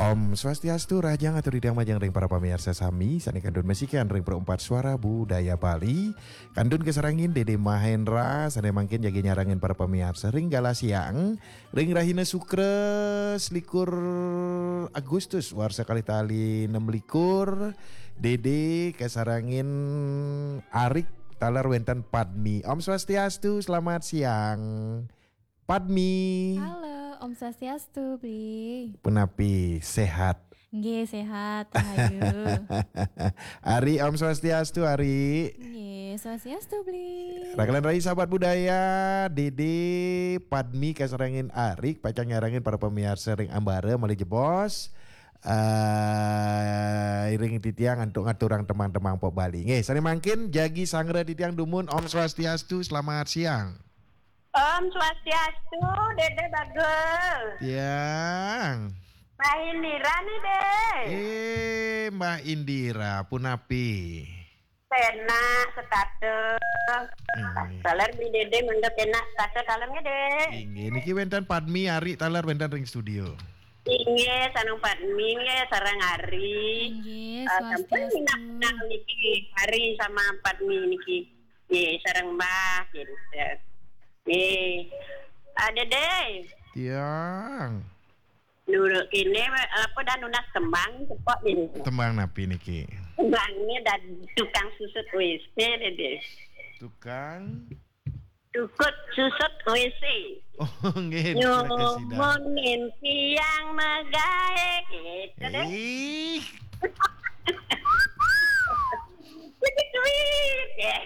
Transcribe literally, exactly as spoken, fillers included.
Om Swastiastu, rahajeng atur titiang majeng ring para pamiarsa sami sane kantun masikian ring Perempat Suara Budaya Bali. Kantun kasarengin Dede Mahendra sane mangkin jagi nyarengin para pamiarsa ring galah siang ring rahina Sukra selikur Agustus warsa kalih tali nem likur. Dede kasarengin Arik taler wenten Padmi. Om Swastiastu, selamat siang. Padmi. Halo, Om Swastiastu, Bli. Punapi, sehat? Nggih, sehat, rahayu. Ari, Om Swastiastu, Ari. Nggih, Swastiastu, Bli. Rakelan rai sahabat budaya, Dede, Padmi kasarengin Arik pacang nyarengin para pamiarsa ring ambara malih jebos. Eh, iring titiang antuk ngaturang tembang-tembang pop Bali. Nggih, sane mangkin jagi sangra titiang dumun. Om Swastiastu, selamat siang. Om Swastiastu, Dede Bagel. Tiang. Mbah Indira nih, Deh. Eh, Mbah Indira, punapi? Penak, setata. Inggih. Taler Bli Dede mangda penak, setata taler nggih, Deh. Inggih, niki wenten Padmi, Ari taler wenten ring studio. Inggih, sareng Padmi nggih, sareng Ari. Inggih, eh, sampun swastiastu. Minab-minab niki, Ari sama Padmi niki. Nggih, sareng Mbah, gitu. Nggih. Ah, Dede. Tiang. Nurut kene, apa, dah nunas tembang, cepok ini. Tembang napi niki? Tembangnya dan tukang susut W C, Dede. Tukang? Tukut susut W C. Oh, nggih, niki kasida. Nyumun tiang magae, gitu, Deh. Ih. Jadi duit, ya.